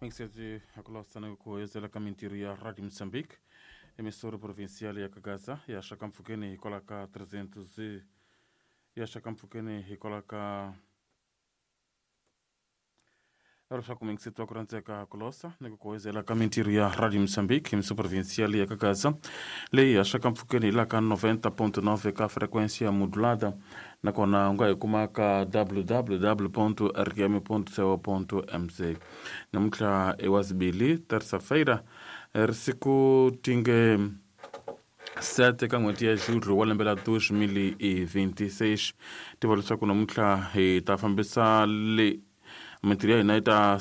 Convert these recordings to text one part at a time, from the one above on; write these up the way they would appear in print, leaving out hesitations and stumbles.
Mingiseti akulosana kuhezela ka mintirho ya Radio Mozambique, emissora provincial ya Kagaza ya xakampfukeni hikwalaho ka 300 ya xakampfukeni hikwalaho ka leswaku mingiseti wa ku rhandzeka kulosa ni ku kuhezela ka mintirho ya Radio Mozambique, emissora provincial ya Kagaza leyi haxaka mpfhukeni hi laha ka 90.9 ka frequência modulada, nakona u nga hi kuma ka www rm co mz. Namuntlha i wazibili terça-feira, ri siku tinge 7 ka n'hweti ya Julho wa lembe la 2026. Tiva leswaku namuntlha hi ta fambisa le mintirho ya hina yi ta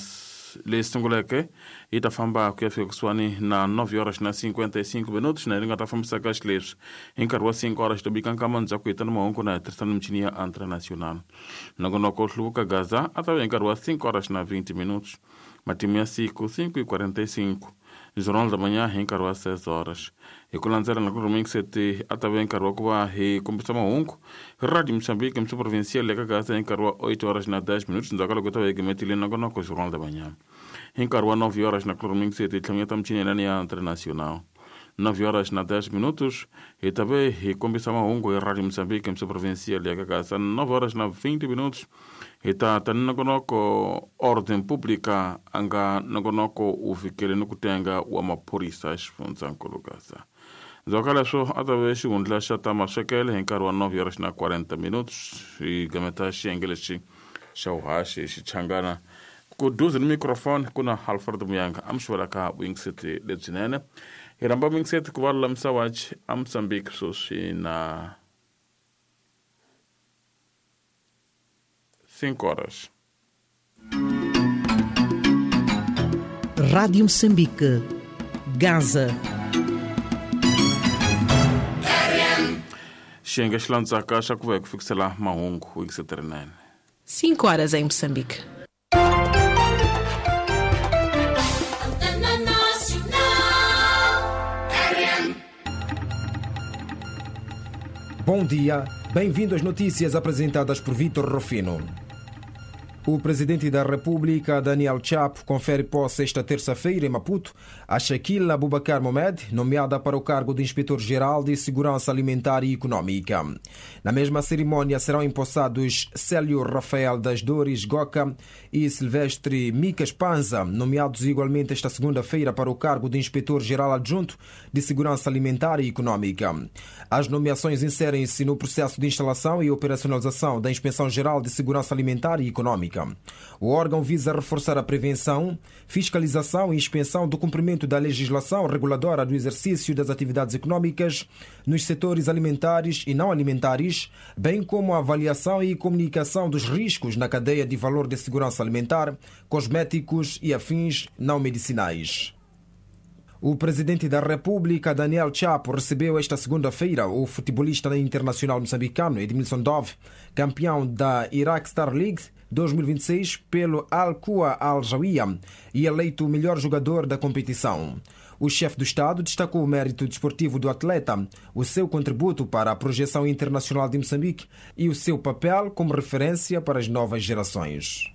leyi sunguleke yi ta famba ku ya fika kusuhani na 9 horas na 55 minutos, na yi nga ta fambisaka xileswi hi nkarhi wa 5 horas to bika nkama ndzhaku hi ta na mahungu na hi tirhisana michini ya International. Nongonoko Hluvuka Gaza a ta va hi nkarhi wa 5 horas na 20 minutos, matimu ya siku 5:45, Jornal da Manhã hi nkarhi wa 6 horas. Hi ku landzela na ku rhumekiseti a ta va hi nkarhi wa ku va hi kombisa mahungu hi Radio Mozambique mso provincial eka Gaza hi nkarhi wa 8 horas na 10 minutos, ndzhaku ka loko ta va hi gimetile nongonoko Jornal da Manhã. Hi nkarhi wa 9 horas na ku rhumekiseti hi tlhamanyeta michini yelani ya International. 9 horas na 10 minutos hi ta ve hi kombisa mahungu hi Radio Mozambique mso provincial eka Gaza. 9 horas na 20 minutos hi ta ta ni nongonoko Ordem Pública, a nga nongonoko wu fikele ni ku tenga wa maphorisa xifundzankulu Gaza. Ndzhaku ka leswo a ta ve xihundla xa ta maswekele hi nkarhi wa 9 horas na 40 minutos, hi gameta xiyenge lexi xa vuhaxi hi Xichangana. Ku duze ni microphone ku na Alfred Muyanga a mi xuvelaka vuyingiseti lebyinene. Hi rhamba muyingiseti ku va lulamisa wachi a Mozambique sweswi na 5 horas. Rádio Moçambique, Gaza. Xiyenge xi landzaka xa ku va hi ku fikisela mahungu vuyingiseti rinene. 5 horas em Moçambique. Antena Nacional. RM. Bom dia, bem-vindo às notícias apresentadas por Vítor Rufino. O presidente da República, Daniel Chapo, confere posse esta terça-feira em Maputo a Shaquila Abubakar Mohamed, nomeada para o cargo de Inspetor-Geral de Segurança Alimentar e Econômica. Na mesma cerimônia serão empossados Célio Rafael das Dores Goca e Silvestre Micas Panza, nomeados igualmente esta segunda-feira para o cargo de Inspetor-Geral Adjunto de Segurança Alimentar e Econômica. As nomeações inserem-se no processo de instalação e operacionalização da Inspeção-Geral de Segurança Alimentar e Econômica. O órgão visa reforçar a prevenção, fiscalização e inspeção do cumprimento da legislação reguladora do exercício das atividades econômicas nos setores alimentares e não alimentares, bem como a avaliação e comunicação dos riscos na cadeia de valor de segurança alimentar, cosméticos e afins não medicinais. O presidente da República, Daniel Chapo, recebeu esta segunda-feira o futebolista internacional moçambicano Edmilson Dove, campeão da Iraq Star League 2026 pelo Al-Qua Al-Jawiya e eleito o melhor jogador da competição. O chefe do Estado destacou o mérito desportivo do atleta, o seu contributo para a projeção internacional de Moçambique e o seu papel como referência para as novas gerações.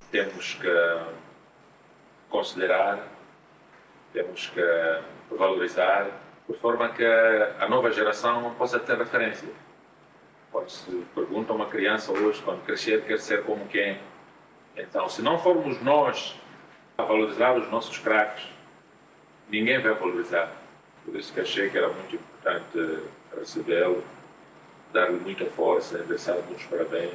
Temos que considerar, temos que valorizar, por forma que a nova geração possa ter referência. Quando se pergunta a uma criança hoje, quando crescer, quer ser como quem? Então, se não formos nós a valorizar os nossos craques, ninguém vai valorizar. Por isso que achei que era muito importante recebê-lo, dar-lhe muita força, endereçar muitos parabéns.